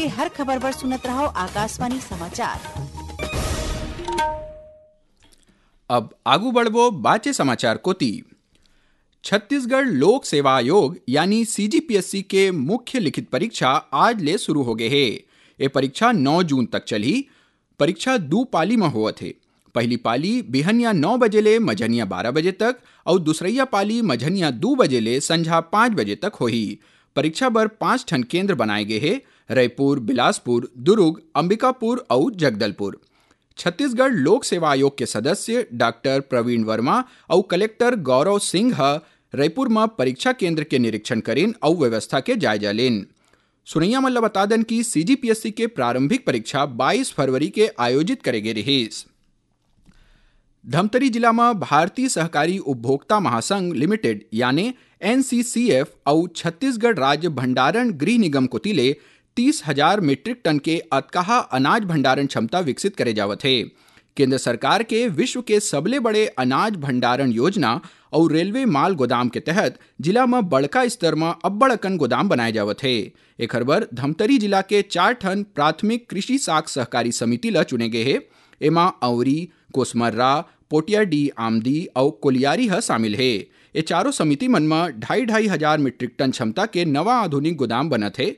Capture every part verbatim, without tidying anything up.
हर खबर बर सुनत रहव आकाशवाणी समाचार। अब आगू बढ़बो बाचे समाचार कोती। छत्तीसगढ़ लोक सेवा आयोग यानी सीजीपीएससी के मुख्य लिखित परीक्षा आज ले शुरू हो गए हे। ये परीक्षा नौ जून तक चलही। परीक्षा दू पाली म होवत हे। पहली पाली बिहनिया नौ बजे ले मझनिया बारह बजे तक अउ दूसरइया पाली मझनिया दू बजे ले संझा पाँच बजे तक होही। परीक्षा बर पाँच ठन केंद्र बनाए गे हे, रइपुर, बिलासपुर, दुर्ग, अंबिकापुर अउ जगदलपुर। छत्तीसगढ़ लोक सेवा आयोग के सदस्य डॉक्टर प्रवीण वर्मा अउ कलेक्टर गौरव सिंह ह रइपुर म परीक्षा केंद्र के निरीक्षण करिन अउ व्यवस्था के जायजा लेन। सुनइया मन ल बता दन कि सीजीपीएससी के प्रारंभिक परीक्षा बाईस फरवरी के आयोजित करे गे रिहिस। धमतरी जिला म भारतीय सहकारी उपभोक्ता महासंघ लिमिटेड यानी एनसीसीएफ अउ छत्तीसगढ़ राज्य भंडारण गृह निगम कोति ले तीस हजार मीट्रिक टन के अतकाहा अनाज भंडारण क्षमता विकसित करे जावत हे। केंद्र सरकार के विश्व के सबले बड़े अनाज भंडारण योजना अउ रेलवे माल गोदाम के तहत जिला म बड़का स्तर म अब्बड़ अकन गोदाम बनाए जावत हे। एखर बर धमतरी जिला के चार ठन प्राथमिक कृषि साख सहकारी समिति ल चुने गे हे। एमा औरी, कोसमर्रा, पोटियाडीह आमदी अउ कोलियारी ह शामिल हे। ये चारों समिति मन म ढाई ढाई हजार मीट्रिक टन क्षमता के नवा आधुनिक गोदाम बनत हे।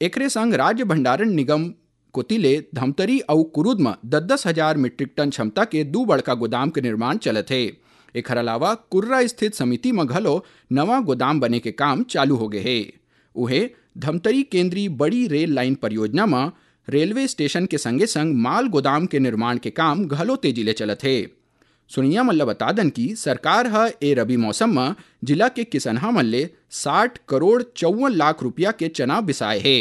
एकरे संग राज्य भंडारण निगम कोति ले धमतरी अउ कुरुद म दस दस हजार मीट्रिक टन क्षमता के दू बड़का गोदाम के निर्माण चलत हे। एखर अलावा कुर्रा स्थित समिति म घलो नवा गोदाम बने के काम चालू हो गे हे। उहे धमतरी केंद्रीय बड़ी रेल लाइन परियोजना म रेलवे स्टेशन के संगे संग माल गोदाम के निर्माण के काम घलो तेजी ले चलत हे। सुनइया मन ल बता दन कि सरकार ह ए रबी मौसम म जिला के किसनहा मन ले साठ करोड़ चौवन लाख रुपया के चना बिसाए हे।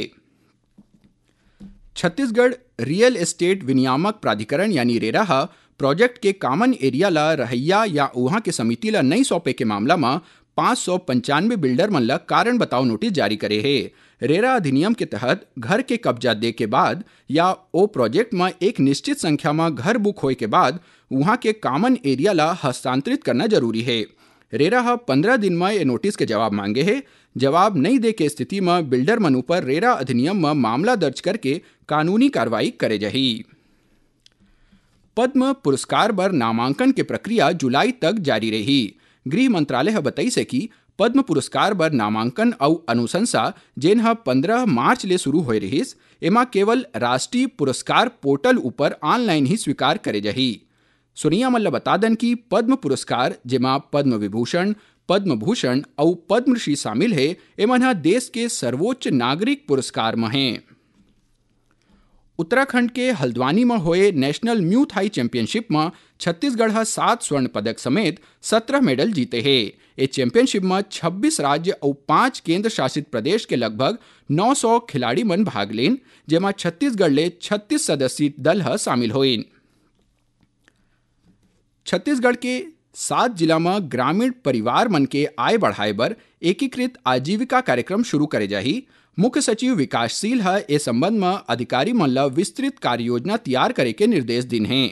छत्तीसगढ़ रियल एस्टेट विनियामक प्राधिकरण यानी रेरा ह प्रोजेक्ट के कॉमन एरिया ल रहइया या उहां के समिति ल नइ सौंपे के मामला म पाँच सौ पंचानवे बिल्डर मन ल कारण बताओ नोटिस जारी करे हे। रेरा अधिनियम के तहत घर के कब्जा दे के बाद या ओ प्रोजेक्ट म एक निश्चित संख्या म घर बुक होए के बाद उहां के कॉमन एरिया ल हस्तांतरित करना जरूरी हे। रेरा ह पंद्रह दिन म ए नोटिस के जवाब मांगे हे। जवाब नइ दे के स्थिति म बिल्डर मन ऊपर रेरा अधिनियम म मामला दर्ज करके कानूनी कार्रवाई करे जाही। पद्म पुरस्कार बर नामांकन के प्रक्रिया जुलाई तक जारी रही। गृह मंत्रालय ह बताइस हे कि पद्म पुरस्कार बर नामांकन अउ अनुशंसा, जेन ह पंद्रह मार्च ले शुरू होए रिहिस, एमा केवल राष्ट्रीय पुरस्कार पोर्टल ऊपर ऑनलाइन ही स्वीकार करे जाही। सुनइया मन ल बता दन कि पद्म पुरस्कार, जेमा पद्म विभूषण, पद्म भूषण अउ पद्मश्री शामिल हे, एमन ह देश के सर्वोच्च नागरिक पुरस्कार म हे। उत्तराखंड के हल्द्वानी म होए नेशनल म्यू थाई चैंपियनशिप म छत्तीसगढ़ ह सात स्वर्ण पदक समेत सत्रह मेडल जीते हे। ए चैंपियनशिप म छब्बीस राज्य अउ पांच केंद्र शासित प्रदेश के लगभग नौ सौ खिलाड़ी मन भाग लेन, जेमा छत्तीसगढ़ ले छत्तीस सदस्यीय दल ह शामिल होइन। छत्तीसगढ़ के सात जिला म ग्रामीण परिवार मन के आय बढ़ाए बर एकीकृत आजीविका कार्यक्रम शुरू करे जाही। मुख्य सचिव विकासशील ह ए संबंध म अधिकारी मन ल विस्तृत कार्य योजना तैयार करे के निर्देश दिन हे।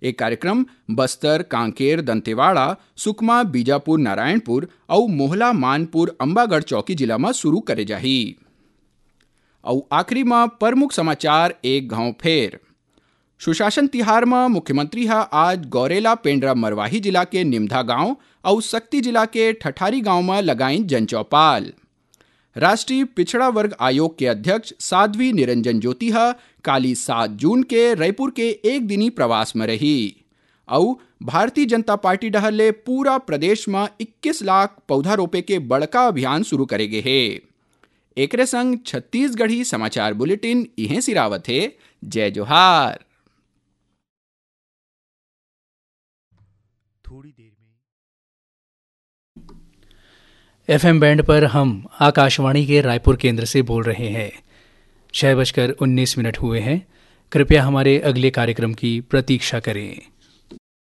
ए कार्यक्रम बस्तर, कांकेर, दंतेवाड़ा, सुकमा, बीजापुर, नारायणपुर अउ मोहला, मानपुर, अंबागढ़ चौकी जिला म शुरू करे जाही। अउ आखिरी म प्रमुख समाचार एक घांव फेर। सुशासन तिहार म मुख्यमंत्री ह आज गौरेला पेंड्रा मरवाही जिला के निमधा गांव अउ सक्ती जिला के ठठारी गांव म लगाइन जनचौपाल। राष्ट्रीय पिछड़ा वर्ग आयोग के अध्यक्ष साध्वी निरंजन ज्योति ह काली सात जून के रइपुर के एक दिनी प्रवास म रही। अउ भारतीय जनता पार्टी डहर ले पूरा प्रदेश म इक्कीस लाख पौधा रोपे के बड़का अभियान शुरू करे गे हे। एकरे संग छत्तीसगढ़ी समाचार बुलेटिन इहें सिरावत हे। जय जोहार। थोड़ी देर में एफएम बैंड पर हम आकाशवाणी के रायपुर केंद्र से बोल रहे हैं। छह बजकर उन्नीस मिनट हुए हैं। कृपया हमारे अगले कार्यक्रम की प्रतीक्षा करें।